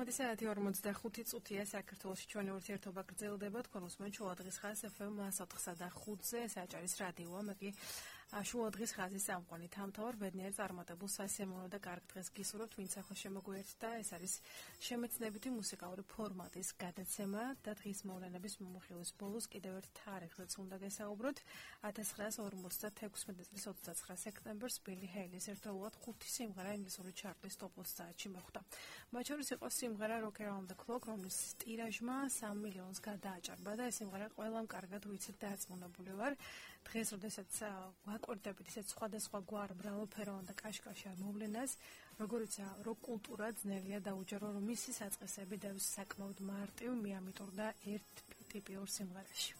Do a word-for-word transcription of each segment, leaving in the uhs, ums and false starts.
ორმოცდახუთი საათი ორმოცდახუთი წუთია საქართველოში ჩვენი ურთიერთობა გრძელდება თქვენ უსმენთ შუადღის ხაზს ეფ ემ ოთხსა და ხუთზე საჭარის რადიოა მე კი შუადღის ხაზის სამყარო თამთავარ ბედნიერ წარმატებულ სასიამოვნო და კარგ დღეს გისურვებთ ვინც ახლა შემოგვიერთდა ეს არის შემეცნებითი მუსიკალური ფორმატის გადაცემა და დღის მოვლენების მომხილის ბოლოს კიდევ ერთ თარიღზეც უნდა გესაუბროთ ათას ცხრაას ორმოცდათექვსმეტი წლის ოცდაცხრა სექტემბერს ბილი ჰეილის ერთდროულად ხუთი სიმღერა ინგლისური ჩარტის ტოპ ოცდაათში მოხვდა. მათ შორის იყო სიმღერა Rock Around the Clock, რომლის ტირაჟმა სამ მილიონს გადააჭარბა და ეს სიმღერა ყველამ კარგად ვიცით და აწმუნებული ვარ. დღეს როდესაც ვაკვირდებით ისეთ სხვადასხვა გვარ მრავალფეროვან და კაშკაშა მოვლენას, როგორიცაა როკ კულტურა ძნელია დაუჯერო, რომ მისი საწყისები და საკმაოდ მარტივ მიამიტორდა ერთ ტიპიურ სიმღერაში.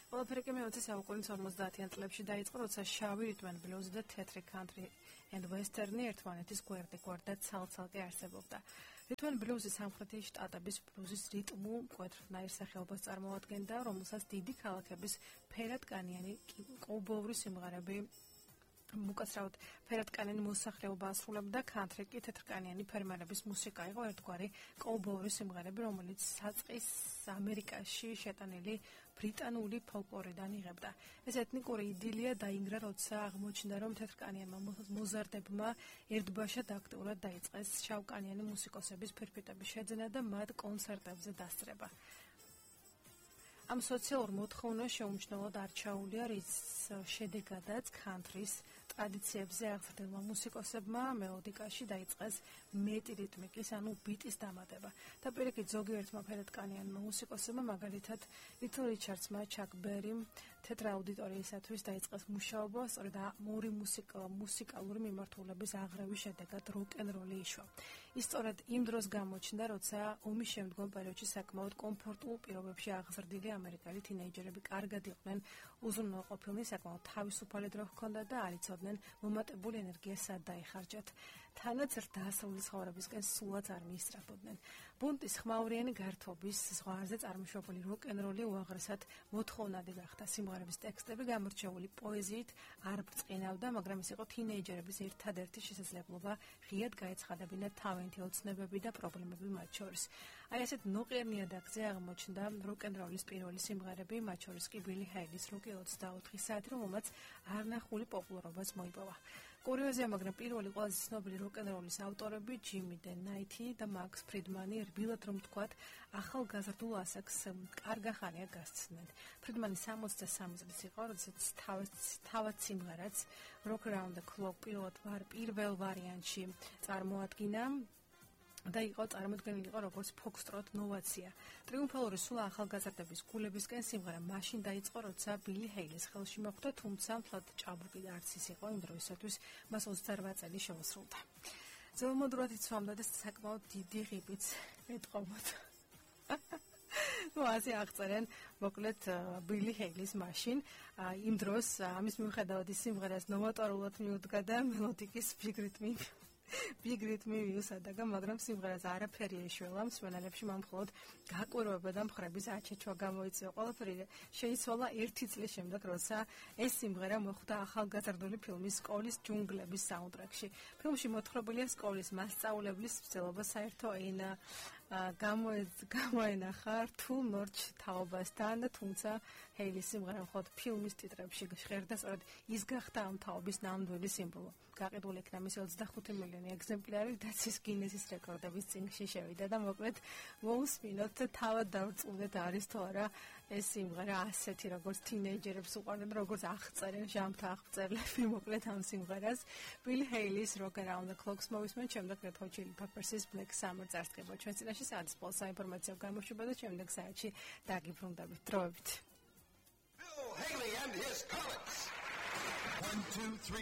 ყველაფერი კი მეოცე საუკუნის ორმოცდაათიან წლებში დაიწყო, როცა შავი რიტმ ენ ბლუზი და თეთრი country and western ერთმანეთის გვერდ-გვერდ ცალ-ცალკე არსებობდა. რიტმ ენ ბლუზი სამხრეთი შტატების ბლუზის რიტმულ მკვეთრნაირ სახეობას წარმოადგენდა, რომელსაც დიდი ქალაქების ფერადკანიანი კოუბოური სიმღერები მოკაცრავად ფერადკანიანი მოსახლეობა ასრულებდა, country კი თეთრკანიანი ფერმერების მუსიკა იყო ერთგვარი კოუბოური სიმღერები, რომელიც საწყის ამერიკაში შეტანილი ბრიტანული ფოლკლორიდან იღებდა. ეს ეთნიკური იდილია დაინგრა, როცა აღმოჩნდა, რომ თეთრკანიანმა მოზარდებმა ერთბაშად აქტიურად დაიწყეს შავკანიანი მუსიკოსების ფირფიტების შეძენა და მათ კონცერტებზე დასწრება. ამ სოციალურ მოთხოვნას შეუმჩნევლად არჩეულია, რის შედეგადაც country-ს ტრადიციებზე აღზრდილმა მუსიკოსებმა მელოდიკაში დაიწყეს მეტი რიტმიკის, ანუ ბიტის დამატება. და პირიქით ზოგიერთმა ფერადკანიანმა მუსიკოსებმა, მაგალითად ლითლ რიჩარდსმა, ჩაკ ბერიმ, თეთრ აუდიტორიისათვის დაიწყეს მუშაობა, სწორედ ორი მუსიკალური მიმართულების აღრევის შედეგად როკ-ენ-როლი იშვა. ის სწორედ იმ დროს გამოჩნდა, როცა ომის შემდგომ პერიოდში საკმაოდ კომფორტულ პირობებში აღზრდილი ამერიკელი თინეიჯერები კარგად იყვნენ უზრუნველყოფილნი, საკმაოდ თავისუფალი დრო ჰქონდათ და არ იცოდნენ მომატებული ენერგია სად დაეხარჯათ. თანაც დასავლური ცხოვრებისკენ სულაც არ მიისწრაფოდნენ. ბუნტის ხმაურიანი გართობის ზღვარზე წარმოშობილი როკ-ენ-როლი უაღრესად მოთხოვნადი გახდა. სიმღერების ტექსტები გამორჩეული პოეზიით არ ბრწყინავდა, მაგრამ ის იყო თინეიჯერების ერთადერთი შესაძლებლობა ღიად გაეცხადებინათ თავიანთი ოცნებები და პრობლემები მათ შორის. აი ესეთ ნოყიერ ნიადაგზე აღმოჩნდა როკ-ენ-როლის პირველი სიმღერები, მათ შორის კი ბილი ჰეილის როკი ოცდაოთხი საათი, რომელმაც არნახული პოპულარობაც მოიპოვა. კურიოზია, მაგრამ პირველი ყველაზე ცნობილი როკ-ენ-როლის ავტორები ჯიმი დე ნაითი და მაქს ფრიდმანი რბილად რომ თქვათ, ახალგაზრდულ ასაკს კარგა ხანია გასცდნენ. ფრიდმანი სამოცდასამი წლის იყო, როდესაც თავად სიმღერაც Rock Around the Clock პირველ ვარიანტში წარმოადგინა და იყო წარმოდგენილი იყო როგორც ფოქსტროტ ნოვაცია. ტრიუმფალური სულა ახალგაზრდების გულებისკენ სიმღერა მაშინ დაიწყო, როცა ბილი ჰეილის ხელში მოხვდა, თუმცა მთლად ჭაბუკი და არც ის იყო იმ დროისათვის, მას ოცდარვა წელი შეუსრულდა. ძველმოდურად იცვამდა და საკმაოდ დიდი ღიბიც ეტყობოდა. ну ასე აღწერენ მოკლედ ბილი ჰეილის მაშინ იმ დროს ამის მიუხედავად ის სიმღერას ნოვატორულად მიუდგა და მელოდიკის ბიგ რიტმი ბიგ რიტმი მიუსადაგა, მაგრამ სიმღერას არაფერი ეშველა, მსმენელებში მან მხოლოდ გაკვირვება და მხრების აჩეჩვა გამოიწვია. ყველაფერი შეიცვალა ერთი წლის შემდეგ, როცა ეს სიმღერა მოხვდა ახალგაზრდული ფილმის სკოლის ჯუნგლების საუნდტრეკში. ფილმში მოთხრობილია სკოლის მასწავლებლის მცდელობა საერთო ენა გამოენახა რთულ ნორჩ თაობასთან, თუმცა ჰეილის სიმღერა მხოლოდ ფილმის ტიტრებში ჟღერდა, სწორედ ის გახდა ამ თაობის ნამდვილი სიმბოლო. გაყიდული იქნა მისი ოცდახუთი მილიონი ეგზემპლარი, რაც ის გინესის რეკორდების წიგნში შევიდა და მოკლედ მოусმინოთ თავად დავწუნდეთ არის თუ არა ეს სიმღერა ასეთი, როგორც თინეიჯერებს უყვარდა და როგორც აღწერენ ჟამთა აღწერლები მოკლედ ამ სიმღერას. ბილი ჰეილის Rock Around the Clock მოვისმენთ, შემდეგ Red Hot Chili Peppers-ის Black Summer წარსდგება ჩვენ წინაშე საათის ბოლოს საინფორმაციო გამოშვება და შემდეგ საათში დაგიბრუნდებით. დროებით. Bill Haley and his Comets. One, two, three.